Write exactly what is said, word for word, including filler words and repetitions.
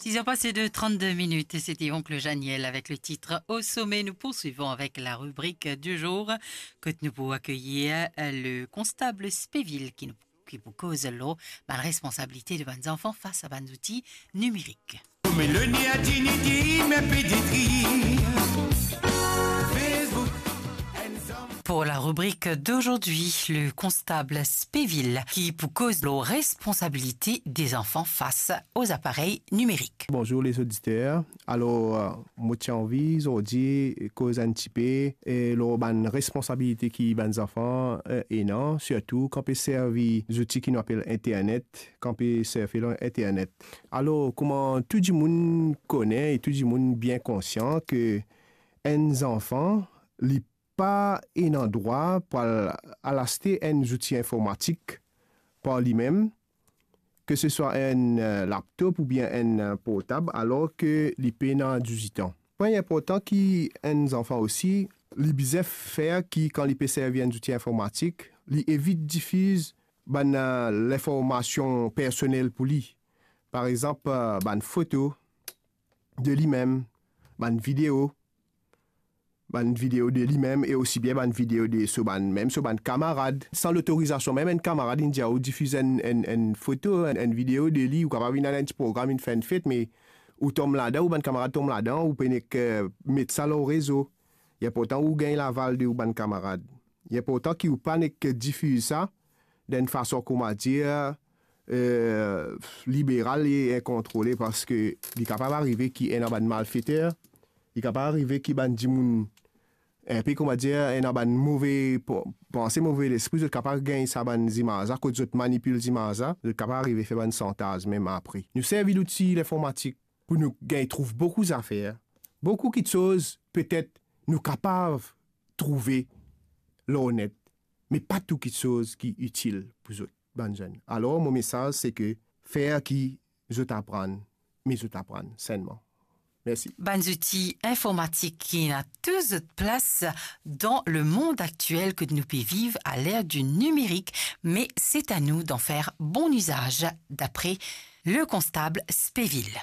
Il a passé de trente-deux minutes et c'était Oncle Janiel avec le titre Au sommet. Nous poursuivons avec la rubrique du jour, kot nou pou akeyir, euh, le constable Spéville ki nou, ki pou koz lor bann responsabilite de bann zanfan fas a bann zouti nimerik. Me le nia diniti, me peditri. Facebook. Pour la rubrique d'aujourd'hui, le constable Spéville, ki pou koz lor responsabilite de zanfan fas o zaparey nimerik. Bonzour lezoditer. Alor, euh, mo ti anvi zordi koz enn tipe, eh, lor bann responsabilite ki bann zanfan, eh, ena, sirtou kan pe servi zouti ki nou apel internet, kan pe servi lor internet. Alor, kouma tou dimoun kone e tou dimoun bien konsian ke enn zanfan, li pa ena drwa pou al, al aste enn zouti informatik par limem, ke se swa enn, eh, laptop oubien enn, eh, portab, alor ke li pena dizuit an. Pwin inportan ki enn zanfan osi, li bizin fer ki kan li pe servi enn zouti informatik, li evit difiz bann, eh, linformasion personel pou li. Par exanp, eh, bann foto de limem, bann video, bann video de limem e osi bien bann video de so bann, mem so bann kamarad. San lotorizasion, mem enn kamarad inn dir ou difiz enn, enn, enn foto, enn, enn video de li, ou kapav inn al enn ti program, inn fer enn fet, me ou tom ladan, ou bann kamarad tom ladan, ou pe nek, eh, met sa lor rezo. Li inportan ou gagn laval de ou bann kamarad. Li inportan ki ou pa nek difiz sa dan enn fason, kouma dir, eh, liberal e inkontrole, parski li kapav arive ki ena bann malfeter, li kapav arive ki bann dimoun inpe, kouma dir, ena bann move p-, panse, move lespri, zot kapav gagn sa bann zimaz la, kot zot manipil zimaz la, zot kapav arive fer bann santaz mem apre. Nou servi louti linformatik pou nou gagn trouv boukou zafer, boukou kitsoz petet nou kapav trouve lor net, me pa tou kitsoz ki itil pou zot, bann zenn. Alor, mo mesaz, se ke fer ki zot aprann, me zot aprann sennman. Mersi. Bann zouti informatik ki ena tou zot plas dan lemond aktiel kot nou pe viv à l'ère du numérique, mais c'est à nous d'en faire bon usage, d'après le constable Spéville.